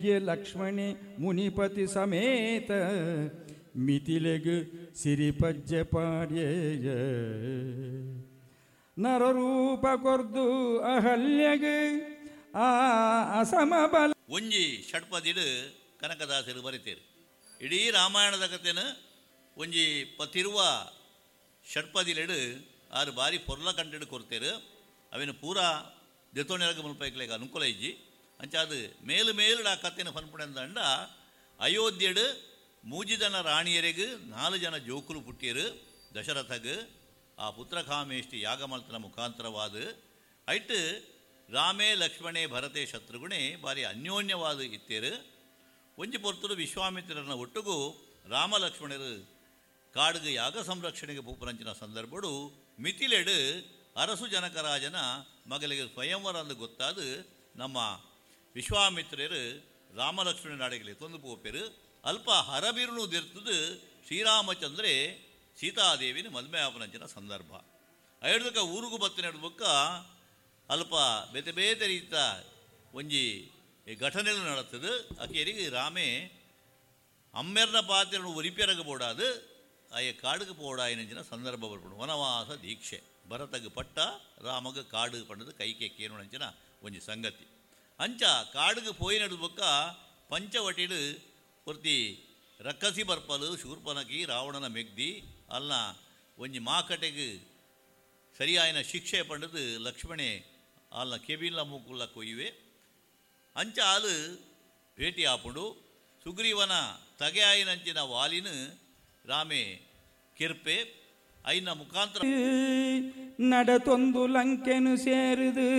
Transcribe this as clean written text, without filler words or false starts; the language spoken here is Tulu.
ಮೆಗ್ಗೆ ಲಕ್ಷ್ಮಣೆ ಮುನಿಪತಿ ಸಮೇತ ಮಿತಿಲೆಗ್ ಸಿರಿಪಜ್ಜೆ ಪಾಡ್ಯೆಯ ನರರೂಪ ಕೊರ್ದು ಅಹಲ್ಯಗ್ ಆ ಅಸಮಬಲ. ಒಂಜಿ ಷಟ್ಪದಿಡ್ ಕನಕದಾಸರು ಬರೆತೇರು. ಇಡೀ ರಾಮಾಯಣದ ಕಥೆನ ಒಂಜಿ ಪತಿರುವ ಷಟ್ಪದಿಲೆಡು ಆರು ಬಾರಿ ಪೊರ್ಲ ಕಂಟೆಡ್ ಕೊರ್ತೇರು. ಅವಿನ ಪೂರಾ ದೆತೊನೆರಗ ಮುಲ್ಪೈಕ್ಲೆಗ್ ಅನುಕೂಲ ಇಜ್ಜಿ. ಅಂಚಾದ್ ಮೇಲು ಮೇಲುಡ ಆ ಕಥೆನ ಪನ್ಪುಣಂದಂಡ ಅಯೋಧ್ಯೆಡ್ ಮೂಜಿ ಜನ ರಾಣಿಯರೆಗ್ 4 ಜನ ಜೋಕುಲು ಪುಟ್ಟಿಯರು ದಶರಥಗ್ ಆ ಪುತ್ರಕಾಮೇಷ್ಟಿ ಯಾಗಮಲ್ತನ ಮುಖಾಂತರವಾದ ಐಟ್ ರಾಮೇ ಲಕ್ಷ್ಮಣೇ ಭರತೆ ಶತ್ರುಘ್ನೆ ಬಾರಿ ಅನ್ಯೋನ್ಯವಾದ ಇತ್ತೇರು. ಒಂಜಿ ಪೊರ್ತುಡು ವಿಶ್ವಾಮಿತ್ರನ ಒಟ್ಟುಗು ರಾಮ ಲಕ್ಷ್ಮಣರು ಕಾಡುಗು ಯಾಗ ಸಂರಕ್ಷಣೆಗೆ ಪೂಪರಂಚಿನ ಸಂದರ್ಭಡು ಮಿಥಿಲೆಡು ಅರಸು ಜನಕರಾಜನ ಮಗಲಿಗೆ ಸ್ವಯಂವರ ಅಂದು ಗೊತ್ತಾದ ನಮ್ಮ ವಿಶ್ವಾಮಿತ್ರರು ರಾಮಲಕ್ಷ್ಮಣನ ಅಡಗಲಿ ತೊಂದು ಪೋಪೆರು. ಅಲ್ಪ ಹರಬಿರುನು ದಿರ್ತದು ಶ್ರೀರಾಮಚಂದ್ರೆ ಸೀತಾದೇವಿನ ಮದುವೆ ಆಪನಂಚಿನ ಸಂದರ್ಭ. ಐಡ್ದಕ್ಕ ಊರುಗು ಬತ್ತಿನ ಬೊಕ್ಕ ಅಲ್ಪ ಬೇತೆ ಬೇತೆ ರೀತ ಒಂಜಿ ಘಟನೆಲು ನಡತದು. ಅಕೇರಿಗೆ ರಾಮೇ ಅಮ್ಮೆರ್ನ ಪಾತ್ರೆಯನ್ನು ಒರಿಪೆರಗ ಬೋಡಾದು ಆಯ ಕಾಡುಗೆ ಪೋಡಾಯಿನಂಚಿನ ಸಂದರ್ಭ ಬರ್ಪುಂಡು. ವನವಾಸ ದೀಕ್ಷೆ ಭರತಗ ಪಟ್ಟ ರಾಮಗ ಕಾಡು ಪಂಡದು ಕೈಕೆ ಕೇನುಣಂಚಿನ ಒಂಜಿ ಸಂಗತಿ. ಅಂಚ ಕಾಡುಗೆ ಪೋಯಿನಡು ಬೊಕ್ಕ ಪಂಚವಟಿಡು ಪೂರ್ತಿ ರಕ್ಕಸಿ ಬರ್ಪಲು ಶೂರ್ಪನಕಿ ರಾವಣನ ಮೆಗ್ದಿ ಅಲ್ಲ ಒಂಜಿ ಮಾಕಟೆಗೆ ಸರಿಯಾಯಿನ ಶಿಕ್ಷೆ ಪಂಡದು ಲಕ್ಷ್ಮಣೆ ಅಲ್ಲ ಕೆಬಿಲ್ಲ ಮೂಕುಲ್ಲ ಕೊಯ್ಯುವೆ. ಅಂಚ ಆಲು ಭೇಟಿ ಆಪುಂಡು. ಸುಗ್ರೀವನ ತಗೆಯಾಯಿನಂಚಿನ ವಾಲಿನ ರಾಮೆ ಕಿರ್ಪೆ ಐನ ಮುಖಾಂತರ ನಡತೊಂದು ಲಂಕೆನು ಸೇರಿದು.